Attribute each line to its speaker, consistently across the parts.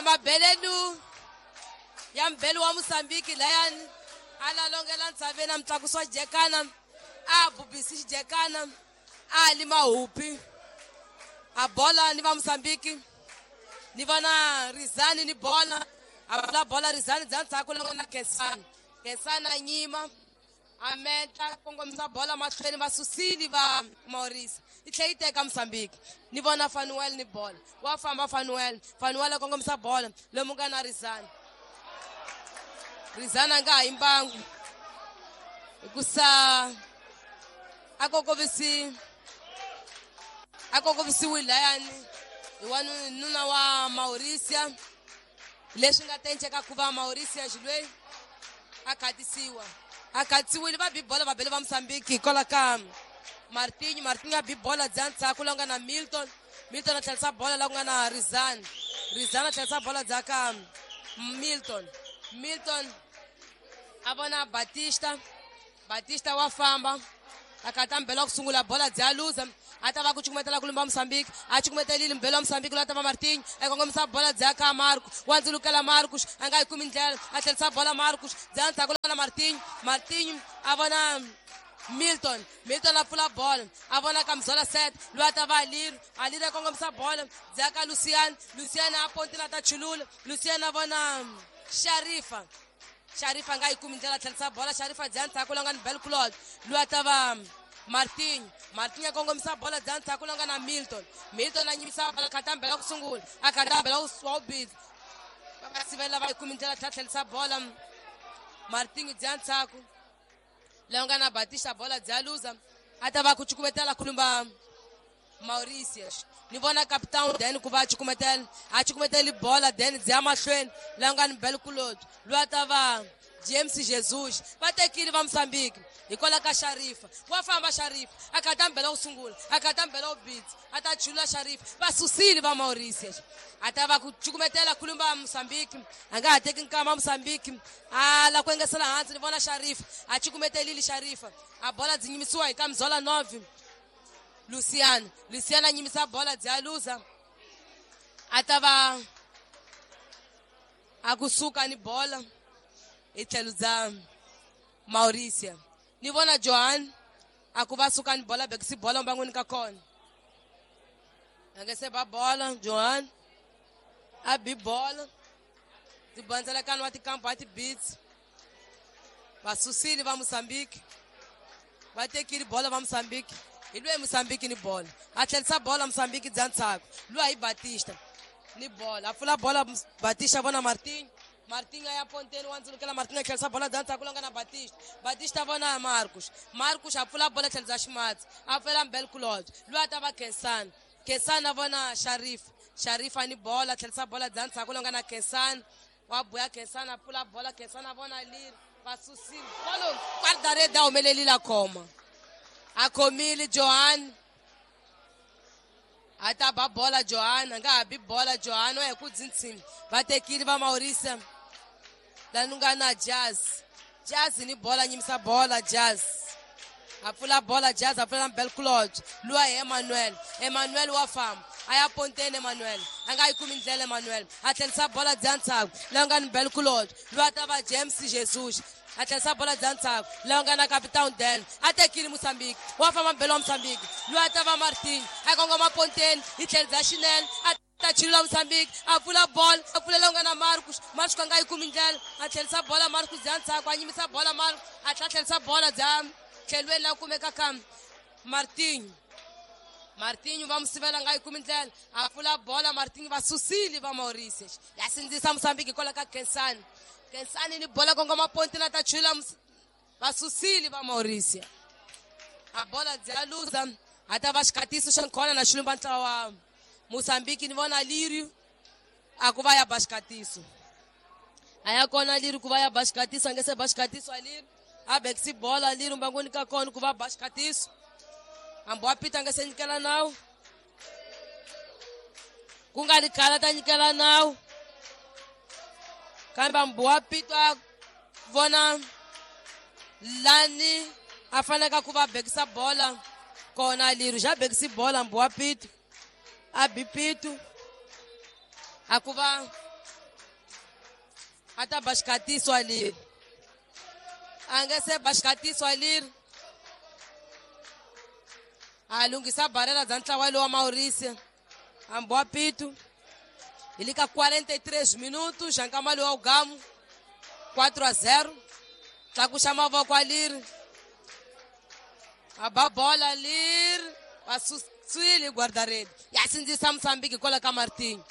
Speaker 1: mabelenu ya mbhelo wa Mozambique layani a lalongela ntshaveni a mutlakusi wa jekana a bubisi xijekana a li mahupi a bola ni va Mozambique ni vona Rizani ni bola a pfula bola Rizani bya ndzhaku loko na Khensani Khensani a nyima a menta kongomisa bola mahlweni va susile va Maurice yi tlhela yi teka Mozambique ni vona Fanuel ni bola wa famba Fanuel Fanuel a kongomisa bola lomu nga na Rizani Rizani a nga ha yi mbangu hikusa a kokovisi a kokovisiwile layani hi wanuna wa Mauricia leswi nga tenceka ku va Mauricia xilweyi a khatisiwa a khatisiwile va bi bola va bele va Mozambique hikwalaho ka Martinho Martinho a bi bola bya ndzhaku la nga na Milton Milton a tlherisa bola la ku nga na Rizani Rizani a tlherisa bola bya ka Milton Milton a vona Batista Batista wa famba a kata mbhelo wa ku sungula bola bya luza a ta va ku cukumetela ku lumba Mozambique a cukumetelile mbhelo wa Mozambique loyi a ta va Martinho a kongomisa bola bya ka Marcos wa ndzulukela Marcos a nga yi kumi ndlela a tlherisa bola Marcos bya ndzhaku na Martinho Martinho a vona Milton Milton a pfula bola a vona ka Mzola set loyi a ta va Aliri Aliri a kongomisa bola bya ka Lucian Lucian a pontile a ta chulula Lucian a vona Sharifa Sharifa a nga yi kumi ndlela tlherisa bola Sharifa bya ndzhaku la nga ni Belclod loyi a ta va Martinho Martinho a kongomisa bola bya ndzhaku la nga na Milton Milton a nyimisa bola khata mbela ku sungula a khata mbela wa ubidzi va sivela va yi kumi ndlela tlhela tlherisa bola Martinho bya ndzhaku la nga na Batista bola bya luza a ta va ku cukumetela khulumba Mauritius ni vona captain then ku va a cukumetela a cukumeteli bola then bya mahlweni la nga ni Belkulot loyi a ta va James Jesus va tekile va Mozambique hikwalaho ka Sharifa wa famba Sharifa a khata mbhela ku sungula a khata mbhela ubidzi a ta chulula Sharifa va susile va Mauritius a ta va ku cukumetela khulumba Mozambique a nga ha teki nkama Mozambique a la ku engesela hansi ni vona Sharifa a cukumetelile Sharifa a bola byi nyimisiwa hi ka Mzola Novi Luciano Luciano a nyimisa bola bya luza a ta va a kusuka ni bola hi tlhelo bya Mauricia ni vona Johan a ku va suka ni bola bekisi bola mbangwini ka kona a nge se ba bola Johan a bi bola tibandzelekano wa tikampa wa tibits va susile va Mozambique va tekile bola va Mozambique hi lweyi Mozambique ni bola a tlherisa bola Mozambique bya ndzhaku luwa hi Batista ni bola a pfula bola Batista vona Martinho Martinho a ya ponteni wa ndzulukela Martinho a tlherisa bola bya ndzhaku la nga na Batista Batista vona Marcos Marcos a pfula bola tlhelo bya ximatsi a pfela Mbelkulod loyi a ta va Khensani Khensani a vona Sharif Sharifa ni bola tlherisa bola bya ndzhaku la nga na Khensani wa buya Khensani a pfula bola Khensani a vona leri va susile bolo guarda-rede a humelelile a khoma a khomile Johan a ta ba bola Johan a nga ha bi bola Johan wa hi ku dzintsini va tekile va Maurice lani nga na Jazz Jazz ni bola nyimisa bola Jazz a pfula bola Jazz a pfula Belclod luwa hi Emmanuel Emmanuel wa famba a ya ponteni Emmanuel a nga yi kumi ndlela Emmanuel a tlherisa bola bya ndzhaku la nga ni Belclod luwa ta va James Jesus a tlherisa bola bya ndzhaku la nga na Captain Dan a tekile Mozambique wa famba mbhelo wa Mozambique luwa ta va Martin a kongoma ponteni hi tlhelo bya xinene a ta chulula Mozambique a pfula bola a pfulela nga na Marcos Marcos a nga yi kumi ndlela a tlherisa bola Marcos bya ndzhaku a nyimisa bola Marcos a tlhela tlherisa bola bya tlhelweni la kumeka ka Martinho Martinho va musivela nga yi kumi ndlela a pfula bola Martinho va susile va Maurice ya sindzisa Mozambique hikwalaho ka Khensani Khensani ni bola kongoma ponti la ta chula va susile va Maurice a bola bya luza a ta va xikhatiso xa nkhona na xilumba ntlawa wa Mozambique ni vona Lirio a ku va ya ba xikhatiso a ya kona Lirio ku va ya ba xikhatiso a nge se ba xikhatiso a Lirio a bekisi bola Lirio mbangwini ka kona ku va ba xikhatiso hambi wa pita a nge se nyikela nawu ku nga ri khale ta nyikela nawu kambe hambi wa pita vona lani a faneleka ku va bekisa bola kona Lirio xa bekisi bola hambi wa pita a bi pitu a ku va A ta ba xikatiso aleri. A nga se ba xikatiso aleri. A lunghisa barela bya ntlawa lowa Maurice. Amboa Pito. Hi le ka 43 minutos xa nkama lowa ugamu 4-0. Tlakuxa mavoko aleri. A ba bola leri. Va susile guarda-rede. Ya sindzisa Mozambique hikwalaho ka Martin.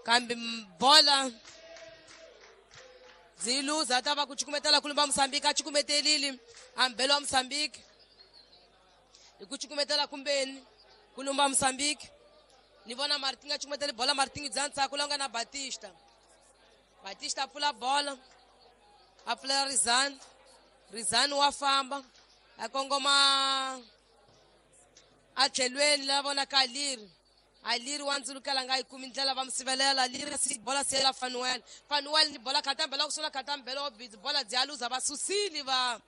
Speaker 1: Kambe bola byi luza a ta va ku cukumetela kulumba Mozambique a cukumetelile a mbelo wa Mozambique. Hi ku cukumetela kumbeni kulumba Mozambique. Ni vona Martin a cukumetele bola Martin bya ntsako la nga na Batista. Batista a pfula bola. A pfulela Rizani. Rizani wa famba a kongoma a tlhelweni la vonaka Aleri. Aleri wa ndzulukela nga yi kumi ndlela va mu sivelela. Aleri si bola siyela Fanuel. Fanuel ni bola khatambela ku sula khatambela wa busy bola bya luza va susile va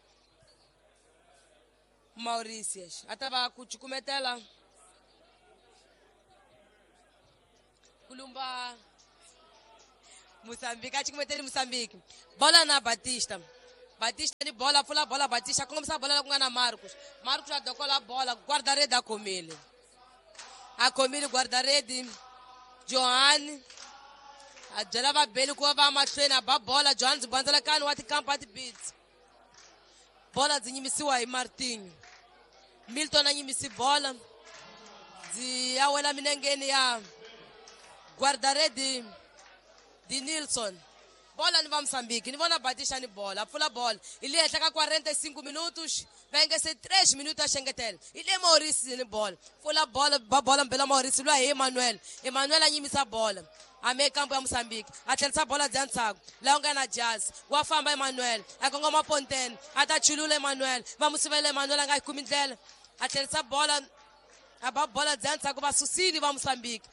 Speaker 1: Mauritius. A ta va ku cukumetela kulumba Mozambique a cukumeteli Mozambique. Bola na Batista. Batista ni bola pfula bola Batista kongomisa bola la ku nga na Marcos. Marcos a dokola bola guarda-rede a khomile. A khomile guarda-rede Johan. A byela vabeli ku va va mahlweni a ba bola Johan byi bandzelakani wa tikampa ti-beats. Bola byi nyimisiwa hi Martin. Milton a nyimisi bola. Byi ya wela minengeni ya guarda-rede Di Nilsson. Bola ni va Mozambique. Ni vona Batista ni bola. A pfula bola. Hi le henhla ka 45 minutos. Va engese 3 minutos a xengetela. Hi le Maurice ni bola. Pfula bola ba bola mbela Maurice lwa hi Emmanuel. Emmanuel a nyimisa bola. A me kampo ya Mozambique. A tlherisa bola bya ntsako. La nga na Jazz. Wa famba Emmanuel. A kongoma Ponten. A ta chulula Emmanuel. Va mu sivela Emmanuel a nga yi kumi ndlela. A tlherisa bola. A ba bola bya ntsako va susile va Mozambique.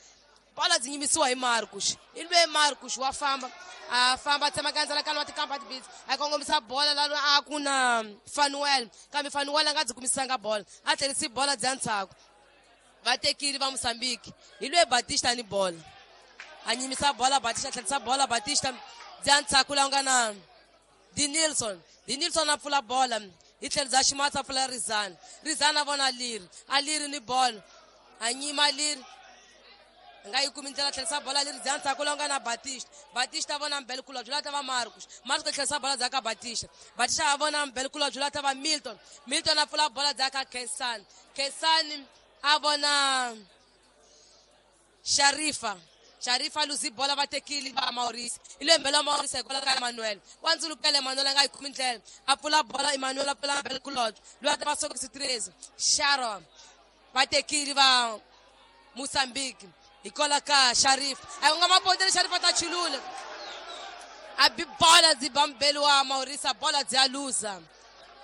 Speaker 1: Bola byi nyimisiwa hi Marcos. I lwe Marcos wa famba. A famba tsema kandzela wa tikampa tibisi. A kongomisa bola la a ku na Fanuel. Kambe Fanuel a nga byi kumisanga bola. A tlherisi bola bya ntsako. Va tekile va Mozambique. Hi lwe Batista ni bola. A nyimisa bola Batista tlherisa bola Batista bya ntsako la nga na Di Nilsson. Di Nilsson a pfula bola. Hi tlhelo bya ximatsi a pfula Rizani. Rizani a vona Aleri. Aleri ni bola. A nyima Aleri. Nga yi kumi ndlela tlherisa bola leri bya ntsako la nga na Batista. Batista a vona Mbelkulobye la ta va Marcos. Marcos a tlherisa bola bya ka Batista. Batista a vona Mbelkulobye la ta va Milton. Milton a pfula bola bya ka Khensani. Khensani a vona Sharifa. Sharifa luzi bola va tekile va Maurice. I le mbela Maurice hikwalaho ka Emmanuel. Wa ndzulukela Emmanuel a nga yi kumi ndlela. A pfula bola Emmanuel a pfula Mbelkulobye. Loyi a ta va sokisi 13. Sharon. Va tekile va Mozambique. Hikwalaho ka Sharif. A nga mapoteli Sharif a ta chulula. A bi bola byi ba mbeli wa Maurice bola byi ya luza.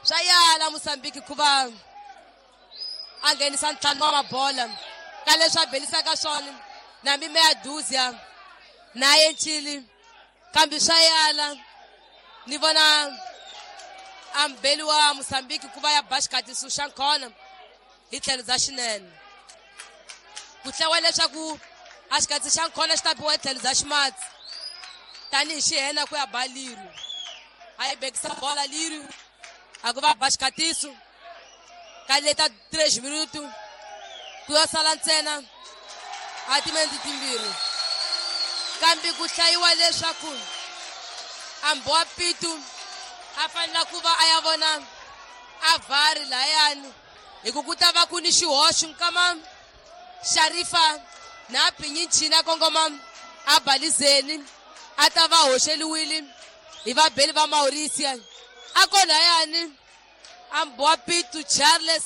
Speaker 1: Swa yala Mozambique ku va a nghenisa ntlhanu wa mabola. Ka leswi a belisaka swona na mime ya Duzia na Yenchili. Kambe swa yala ni vona a mbeli wa Mozambique ku va ya ba xikatiso xa nkhona hi tlhelo bya xinene. Ku hlawa leswaku a xikatsi xa nkhona xi ta biwa hi tlhelo bya ximatsi tanihi xihena ku ya ba Liru. A yi bekisa bola Liru a ku va ba xikatiso ka leta 3 minuto ku ya sala ntsena a timinete timbirhi. Kambe ku hlayiwa leswaku Amboa Pitu a fanele ku va a ya vona a vari layani hi ku ku ta va ku ni xihoxo nkama Sharifa na Pinyichini a kongoma a balizeni a ta va hoxeliwile hi vabeli va Maurice. A ko layani Amboa Pitu Charles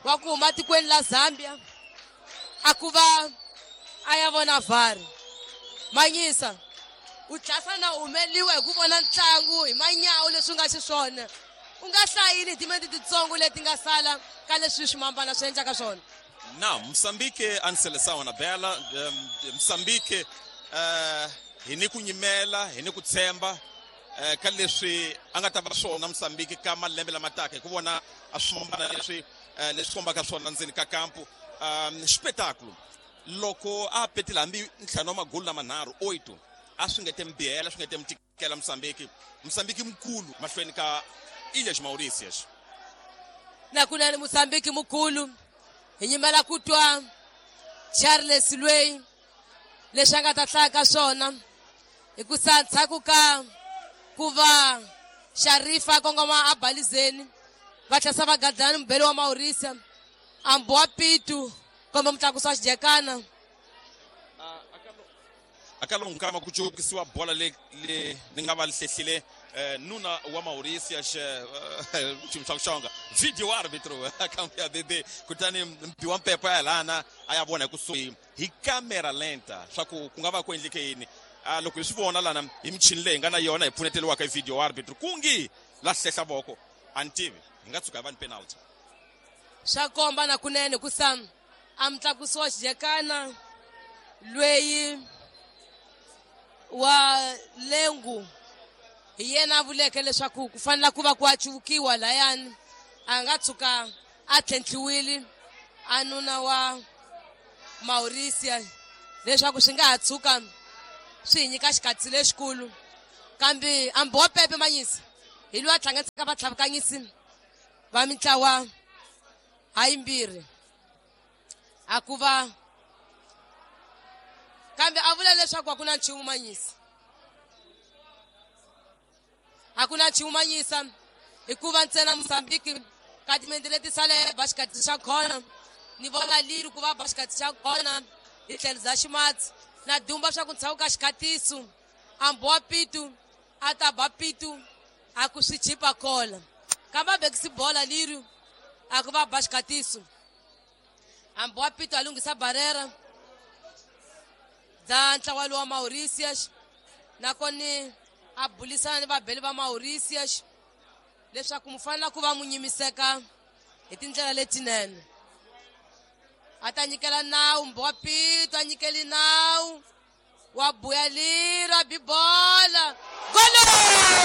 Speaker 1: wa ku huma tikweni la Zambia a ku va a ya vona VAR. Manyisa u tlhasa na humeliwa hi ku vona ntlangu hi manyawu leswi nga xiswona. U nga hlayini hi timinete titsongo leti nga sala ka leswi swimambana swi endlaka swona.
Speaker 2: Não, Moçambique a seleção Anabela, Moçambique hi ni ku nyimela, hi ni ku tshemba ka leswi a nga ta va swona Moçambique ka malembe lama taka hi ku vona a swimambana leswi leswi kombaka swona ndzeni ka kampu. Espetáculo loko a petile hambi ntlhanu wa magulu lamanharhu 8 A swi nge te mi bihela, swi nge te mi tikela Mozambique. Mozambique mukulu mahlweni ka Ilhas Mauritius.
Speaker 1: Nakunene Mozambique mukulu, hi nyimela ku twa Charles lweyi leswi a nga ta hlaya ka swona, hikusa ndzhaku ka ku va Sharifa a kongoma a balizeni, va tlhela va gadlana mubeli wa Mauritius, ambu wa Pitu komba mutlakusi wa xijekana.
Speaker 2: Aka lowu nkama ku cukisiwa bola le le ni nga va hlehlile nuna wa Mauritius, xilo xa ku xonga video arbitro akambe ya bebe, kutani mbi wa mpepo ya lana a ya vona hi kusuhi hi camera lenta swa ku ku nga va ku endleke yini. Loko hi swi vona lana hi michini leyi hi nga na yona hi pfuneteliwaka hi video arbitro, kungi la hlehla voko, a ni tivi, hi nga tshuka hi va ni penalty.
Speaker 1: Swa komba na kunene kusa a mutlakusi wa xijekana lweyi wa lengu hi yena a vuleke leswaku ku fanele ku va ku acuvukiwa layani, a nga tshuka a tlhentlhiwile a nuna wa Mauritius, leswaku swi nga ha tshuka swi hi nyika xikatsi lexikulu. Kambe ambi wa pepe manyisi hi loyi a hlanganisaka vatlhavukanyisi va mitlawa hayimbirhi, a ku va kambe a vula leswaku a ku na nchumu manyisi, a ku na nchumu manyisa, hikuva ntsena Mozambique ka timende leti saleke ba xikatsi xa khona. Ni vona liri ku va ba xikatsi xa khona hi tlhelo bya ximatsi na dumba swa ku ntshaku ka xikhatiso, ambu wa Pitu a ta ba Pitu, a ku swi chipa kola, kambe a bekisi bola liri, a ku va ba xikhatiso. Ambu wa Pitu a lunghisa barera bya ntlawa lowa Mauritius, nakoni a bulisana ni vabeli va Mauritius leswaku mu fanele ku va mu nyimiseka hi tindlela letinene. A ta nyikela nawu mbi wa Pitu, a nyikeli nawu wa buya lira bibola gole.